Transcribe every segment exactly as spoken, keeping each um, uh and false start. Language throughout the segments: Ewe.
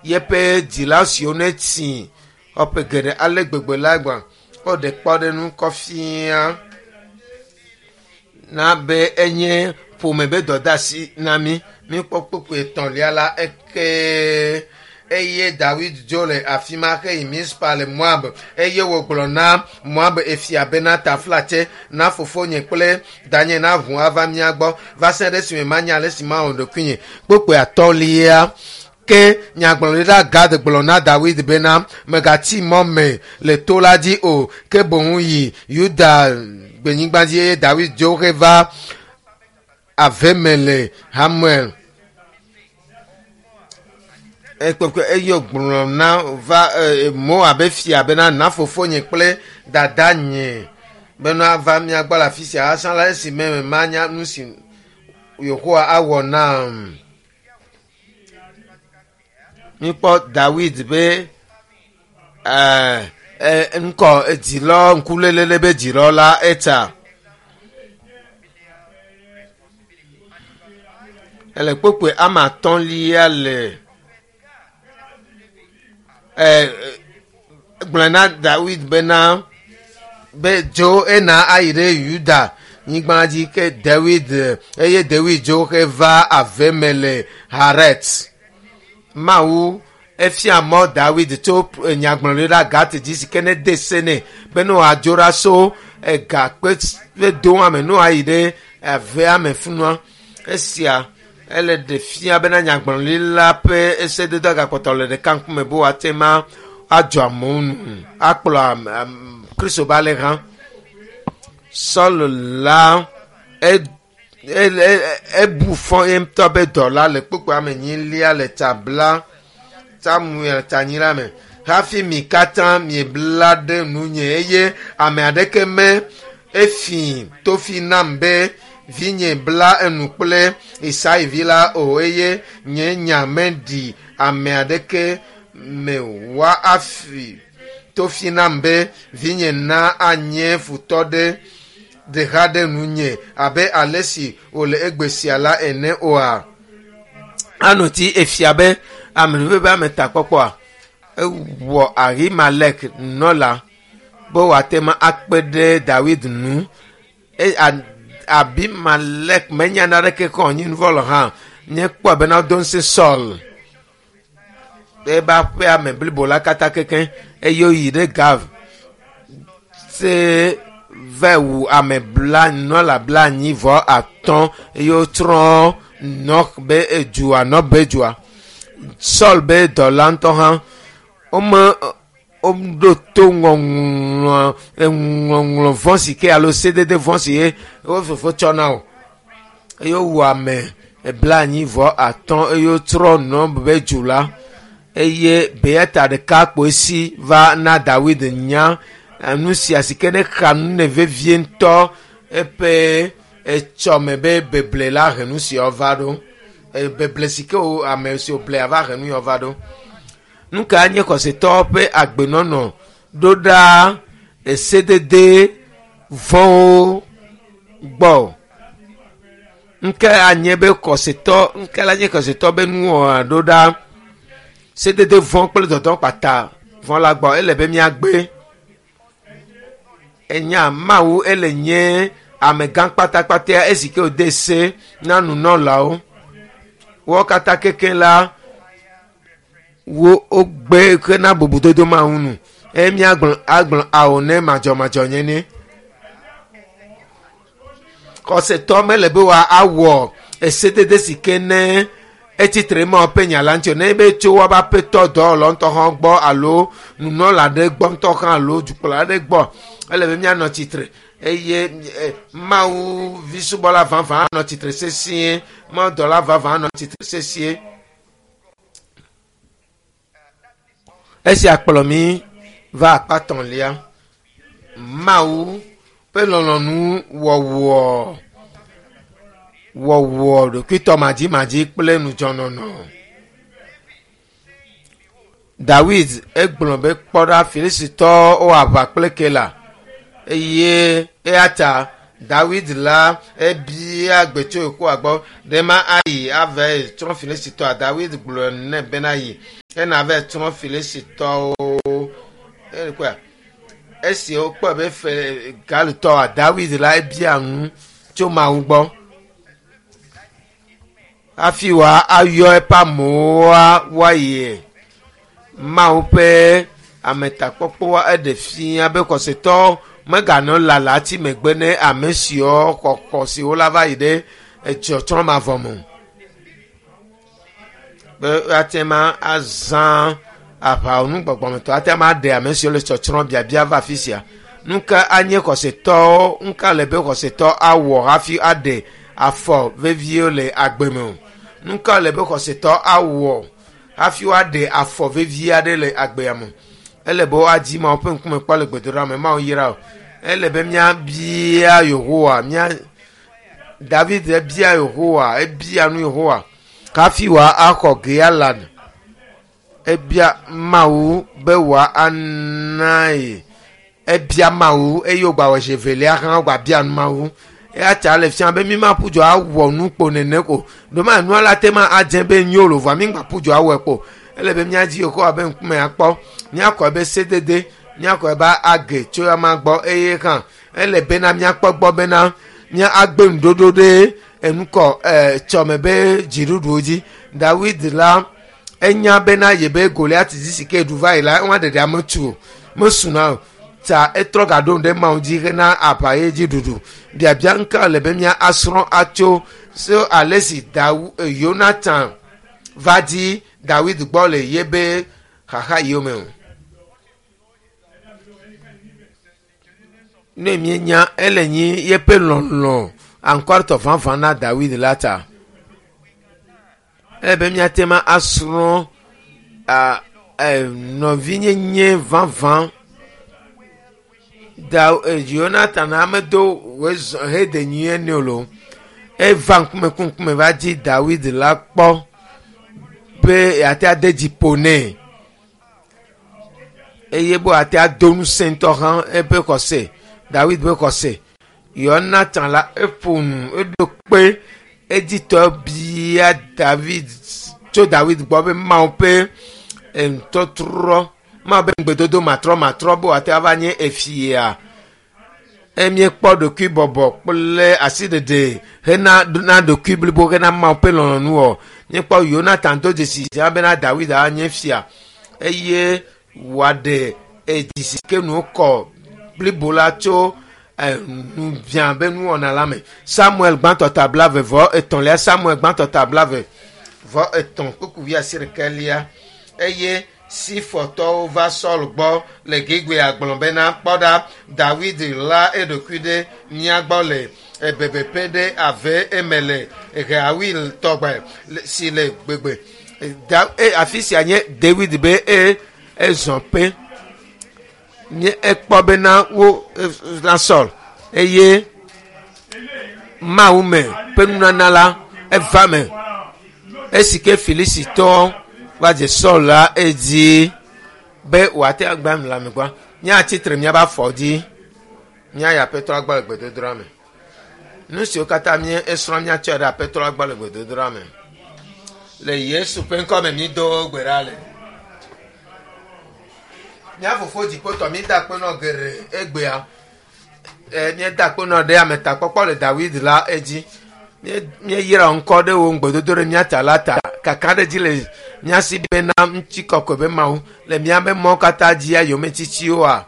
Yeƒe dzila siwo ne tsi xɔƒe geɖe ale gbegbe la gbã woɖe kpɔɖeŋu kɔ fia na be enye ƒome be dɔdeasi na mí. Míkpɔ kpukpui etɔ̃lia la eke eye Dawid dzo le afi ma heyi Mizpa le Moab eye wògblɔ na Moab efia bena taflatse na fofonye kple danye na ʋu ava mía gbɔ va se ɖe esime manya ale si mawɔ ɖokuinye. Kpukpui atɔ̃lia ke nyagblɔɖila Gad gblɔ na Dawid bena megatsi mɔ me le to la dzi o ke boŋ yi Yuda gbenyigba dzi eye Dawid dzo heva ave me le Hamuel. Ekpekpe eye wògblɔ na va e, Moab fia bena na fofonye kple dadanye bena va mía gbɔ le afi sia azã la esi me manya nu si Yehowa awɔ nam. Míkpɔ Dawid be ɛɛ ŋkɔ dzilɔ ŋkuléle be dzilɔ la etsa. Ele kpukpui ame atɔ̃lia le ɛɛ gblɔ na Dawid bena be dzo ena ayi ɖe Yuda nyigba dzi ke Dawid eye Dawid dzo heva ave me le Haret. Mawu efia mɔ Dawid tso nyagblɔɖila Gat dzi si ke ne de se nɛ be ne wòadzo ɖa so ega kpe ƒe doa me ne wòayi ɖe avea me funua. Esia ele ɖe fia bena nyagblɔɖila ƒe esedodo gakpɔtɔ le ɖeka ŋkume be wòate ma adzɔ amewo nu akplɔ ame Kristo be alẽha. Saul la ebu fɔ ye ŋutɔ be dɔla le kpukpui ame enyilia le ta bla Samuel tanyila me hafi mi katã miebla ɖe nunye eye ame aɖeke me efi tofi nam be vinye bla enu kple Isai vi la o eye nye nya meɖi ame aɖeke me wa afi tofi nam be vinye na anye futɔ ɖe ɖeka ɖe nunye abe ale si wòle egbe sia la ene oa. Anɔ ti efia be ame ƒe ame takpɔkpɔa ewɔ Ahimelek nɔla be wòate ma akpe ɖe Dawid nu. Abimelek menya naneke kɔ nyi nuvɔ le hã nye kpɔ bena do ŋusẽ Saul ebe aƒea me blibo la katã kekeŋ eye woyi ɖe Gav se va wu ame bla nɔla bla anyi vɔ atɔ̃ eye wotsrɔ̃ Nɔk be edua Nɔb be dua. Saul be dɔla ŋutɔ hã wome woɖo to ŋɔŋlɔ eŋɔŋlɔ vɔ̃ si ke alo sedede vɔ̃ si ye wo fofo tsɔ na o eye wowu ame bla anyi vɔ atɔ̃ eye wotrɔ Nɔb be du la eye Beyata ɖeka kpoe si va na Dawid nya nu sia si ke ne xa nu ne vevie ŋutɔ eƒe etsɔme be beble la he nu siawo va ɖo. Beble si ke wo ame si wòble ava he nu yawo va ɖo. Nu ka nye xɔsetɔwo ƒe agbenɔnɔ ɖo ɖa esedede vɔ̃wo gbɔ? Nke anye be xɔsetɔ nke la nye xɔsetɔ be nuwɔna ɖo ɖa sedede vɔ̃ kple dɔdɔ kpata vɔ̃ la gbɔ ele be míagbe. Enya Mawu ele nye amegã kpatakpataa esi ke wòde se na nunɔlawo. Wo katã kekeŋ la wo wogbe hena bubudodo Mawu nu eye míagblɔ agblɔ ao ne madzɔmadzɔnyenye. Xɔsetɔ mele be wòawɔ esedede si ke ne etsitre ma ƒe nya la ŋuti o. Ne be tso woabe aƒetɔ dɔwɔlɔ ŋutɔ hã gbɔ alo nunɔla ɖe gbɔ ŋutɔ hã alo dukplɔla ɖe gbɔ ele be míanɔ tsitre eye Mawu vi subɔla vavã anɔ tsitre sesĩe, Mawu dɔla vavã anɔ tsitre sesĩe. Esia kplɔ mí va akpa etɔ̃lia. Mawu ƒe lɔlɔ̃nu wɔwɔ wɔwɔ ɖokuitɔmadzimadzi kple ŋudzɔnɔnɔ. Dawid egblɔ be kpɔ ɖa Filistitɔwo wɔ aʋa kple Kela eye eya ta Dawid la ebia gbe tso Yehowa gbɔ ɖe ma ayi ava tsrɔ̃ Filistitɔa. Dawid gblɔ nɛ bena yi. Ena vɛ trɔ Filistitɔwo. Ekɔa esi wokpɔ be fe Galitɔa David la ebia nu tso Mawu gbɔ. Hafi wa ayɔ eƒe amewoa woayi Mawu ƒe ametakpɔkpɔa eɖe fia be xɔsetɔ meganɔ lala tsi megbe ne ame siwo xɔ xɔ siwo la va yi ɖe etsɔtsrɔ̃ mavɔ me o. Be woate ma azã aʋawɔnu gbɔgbɔmetɔ ate ma aɖe ame siwo le tsɔtsrɔ̃ biabia va afi sia. Nu ka anye xɔsetɔwo nu ka le be xɔsetɔ awɔ hafi aɖe afɔ vevie le agbe me o. Nu ka le be xɔsetɔ awɔ hafi woaɖe afɔ vevie aɖe le agbea me. Ele be woadzi Mawu ƒe ŋkume kpɔ le gbedoɖa me. Mawu yra o. Ele be míabia Yehowa mía David ebia Yehowa ebia nu Yehowa hafi wòaxɔ Gealan. Ebia Mawu be wòana ye. Ebia Mawu eye wògba wɔ zi evelia hã wògba bia nu Mawu. Eya ta le fia be mi ma ƒu dzo awɔ nu kpo nene ko. Ɖo nua la te ma adze be nyo lo vɔa mi ŋgba ƒu dzo awɔe kpo. Ele be míadzi Yehowa be ŋkume akpɔ. Míakɔ ebe sedede, míakɔ ebe age tso ama gbɔ eye hã ele bena míakpɔ gbɔ bena mía agbe nuɖoɖo ɖe enukɔ ɛ tsɔme be dziɖuɖuwo dzi. Dawid la enya bena yebe Goliat dzi si ke ɖu va yi la ewa ɖeɖe ame tu o mesuna o. Ta etrɔ gaɖo ŋu ɖe Mawu dzi hena aʋa ye dzi ɖuɖu. Biabia ŋka le be mía asrɔ̃ atso so ale si Dawu Yonatan va dzi Dawid gbɔ le yebe xaxa yiwo me o. Ne míenya ele nyi yeƒe lɔlɔ ankɔritɔ vavã na Dawid la ta. Ele be míate ma asrɔ̃ a ɛ nɔvinyenye vavã. Da Yonatan amedo wòezɔ hede nyuie nɛ o lo. Eva ŋkume ku ŋkume va dzi Dawid la kpɔ be yeate ade dzi ƒo nɛ eye be wòate ado ŋusẽ ŋutɔ hã eƒe xɔse Dawid ƒe xɔse. Yonatan la eƒo nu eɖo kpe edzitɔ bia David tso Dawid gbɔ be Mawu ƒe ŋutɔtrɔ Mawu ƒe ŋugbedodo matrɔmatrɔ be wòate ava nye efia. Emiekpɔ ɖokuibɔbɔ kple asiɖeɖe hena na ɖokui blibo hena Mawu ƒe lɔlɔ̃nu wɔ. Míekpɔ Yonatan do dzesi sia bena Dawid anye fia eye wòaɖe edzi si ke nu kɔ blibo la tso nubiã be nuwɔna la me. Samuel gbãtɔ ta blaeve vɔ etɔ̃lia Samuel gbãtɔ ta blaeve vɔ etɔ̃ kpukpui wuiasiɖekɛlia eye Sifɔtɔwo va Saul gbɔ le Gibea gblɔ bena kpɔ ɖa Dawid la eɖokui ɖe mía gbɔ le ebebeƒe ɖe ave eme le Hawil tɔgbe si le gbegbe. Da e afi sia nye David be e ezɔ ƒe. Nye ekpɔ bena wo na Saul eye Mawu me ƒe nunana la eva me. Esi ke Filistitɔwo va dze Saul la edzi be wòate agba nu le ame gbɔ. Míatsitre míaƒe afɔ dzi. Míayi Aƒetɔ gbɔ le gbedodoɖa me. Nu siwo katã mí esrɔ̃ míatsɔe ɖe Aƒetɔ gbɔ le gbedodoɖa me. Le Yesu ƒe ŋkɔ me mído gbe ɖa le. Mía fofo dziƒotɔ mída akpe nɔ geɖe egbea. E míeda akpe nɔ ɖe ametakpɔkpɔ le Dawid la edzi. Míeyra ŋkɔ ɖe wò ŋugbedodo ɖe mía ta la ta. Kakaɖedzi le mía si bena ŋutikɔkɔe be Mawu le míaƒe mɔ katã dzia yometsitsiwoa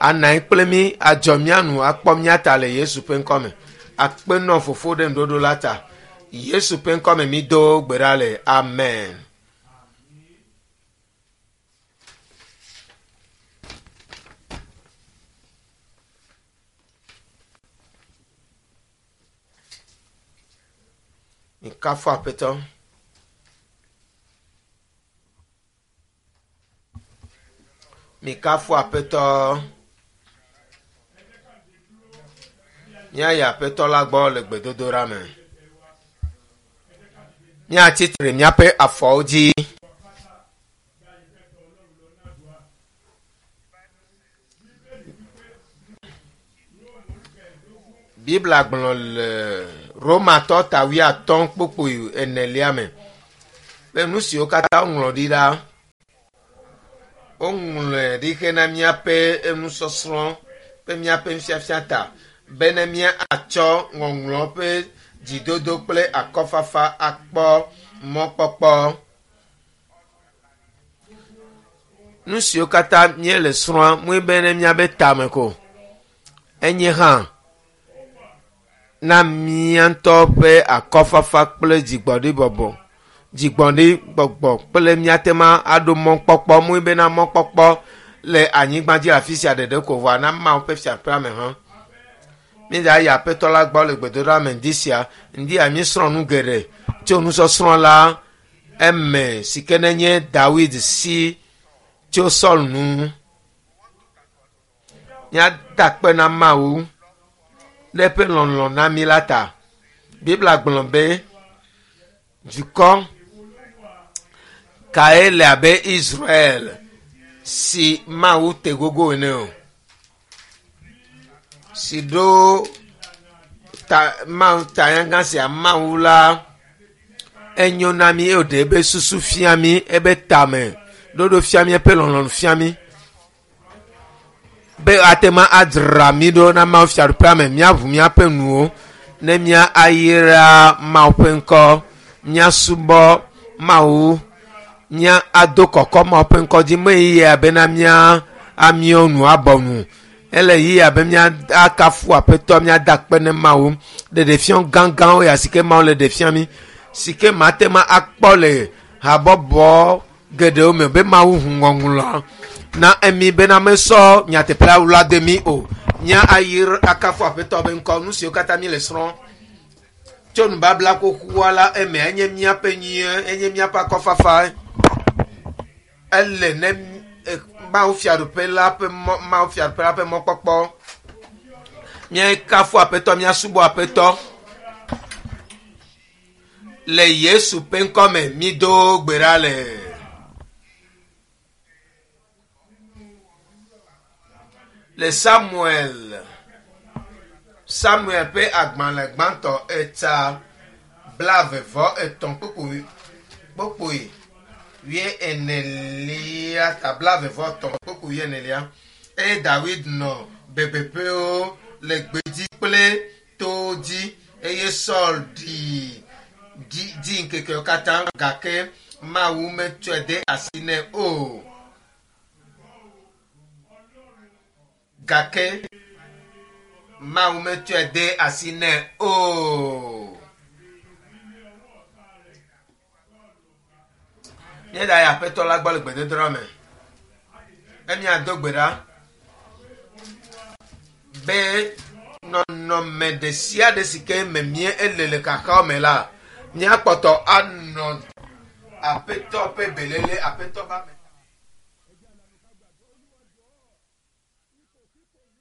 ana anyi kple mí adzɔ mía nu akpɔ mía ta le Yesu ƒe ŋkɔ me. Akpe nɔ fofo ɖe ŋuɖoɖo la ta. Yesu ƒe ŋkɔ me mído gbe ɖa le. Amen. Mikafu Aƒetɔ. Mikafu Aƒetɔ. Míayi Aƒetɔ la gbɔ le gbedodoɖa me. Míatsitre míaƒe afɔwo dzi. Biblia gblɔ le Romatɔ ta wuiatɔ̃ kpukpui enelia me be nu siwo katã woŋlɔ ɖi la Woŋlɔe ɖi hena míaƒe nusɔsrɔ̃ ƒe míaƒe nufiafia ta bene míatsɔ ŋɔŋlɔ ƒe dzidodo kple akɔfafa akpɔ mɔkpɔkpɔ. Nu siwo katã míele srɔ̃a mue be ne míabe tame ko enye hã na mía ŋutɔ ƒe akɔfafa kple dzigbɔɖibɔbɔ dzigbɔɖigbɔgbɔ kple míate ma aɖo mɔkpɔkpɔ mue bena mɔkpɔkpɔ le anyigba dzi afi sia ɖeɖe ko vɔa na Mawu ƒe fiaƒea me hã. Míedza yi aƒetɔ la gbɔ le gbedoɖa me ŋdi sia ŋdi ya míesrɔ̃ nu geɖe tso nusɔsrɔ̃ la eme si ke nenye Dawid si tso Saul nu. Míada akpe na Mawu ɖe eƒe lɔlɔ̃ na mí la ta. Biblia gblɔ be dukɔ kae le abe Israel si Mawu te gogo ene o si ɖo ta Mawu tanyagã sia Mawu la enyo na mí eye wòɖe ebe susu fia mí ebe tame ɖoɖo fia mí eƒe lɔlɔ̃nu fia mí be ate ma adzra mí ɖo na Mawu fiaɖuƒea me míaʋu míaƒe nuwo ne mía ayra Mawu ƒe ŋkɔ míasubɔ Mawu mía ado kɔkɔ Mawu ƒe ŋkɔ dzi me yi abena mía amiɔ nu abɔ nu ele yi abe mía akafu aƒetɔ míada akpe ne Mawu ɖeɖefiɔ gãgãwo ya si ke Mawu le ɖe fia mí si ke mate ma akpɔ le habɔbɔ geɖewo me be Mawu ʋu ŋɔŋlɔ na emi bena mesɔ nyateƒea wla de mí o mía ayi akafu aƒetɔ be ŋkɔ nu siwo katã mi le srɔ̃ tso nubabla xoxoa la eme enye míaƒe nyuie enye míaƒe akɔfafa ele ne Mawu fiaɖuƒe la ƒe mɔ Mawu fiaɖuƒe la ƒe mɔkpɔkpɔ míakafu aƒetɔ míasubɔ aƒetɔ le Yesu ƒe ŋkɔ me mído gbe ɖa le. Le Samuel Samuel ƒe agbalẽ gbãtɔ eta blaeve vɔ etɔ̃ kpukpui kpukpui wuie enelia ta blaeve vɔ etɔ̃ kpukpui wuie enelia eye Dawid nɔ bebeƒewo le gbedzi kple towo dzi eye Saul ɖi dzi dzi ŋkekewo katã gake Mawu metsɔe de asi nɛ o. Gake Mawu metsɔe de asi nɛ o. Míeɖa yi aƒetɔ la gbɔ le gbedodoɖa me. Emia do gbe ɖa be nɔnɔme ɖe sia ɖe si ke me mía ele le xaxawo me la, míakpɔtɔ anɔ aƒetɔ ƒe belele aƒetɔ ƒe ame.